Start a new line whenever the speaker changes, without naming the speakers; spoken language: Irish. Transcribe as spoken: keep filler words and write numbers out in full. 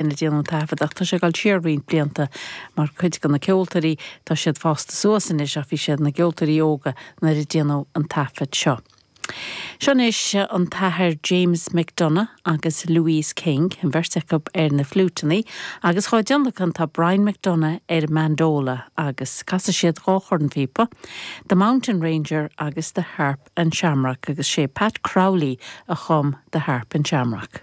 ina déanamh taifead ach tá sé ag dul siar roinnt blianta mar cuid de na ceoltóirí tá siad fásta suas anois ach bhí siad na ceoltóirí óga nuair a déanadh an taifead seo. Seo anois an tAthair James McDonough agus Louise King an bheirt acu ar na fliúiteanna agus chá déanachan tá Brian McDonough ar mandola agus casfaidh siad dhá chornphíopa, The Mountain Ranger agus The Harp and Shamrock agus sé Pat Crowley a chum The Harp and Shamrock.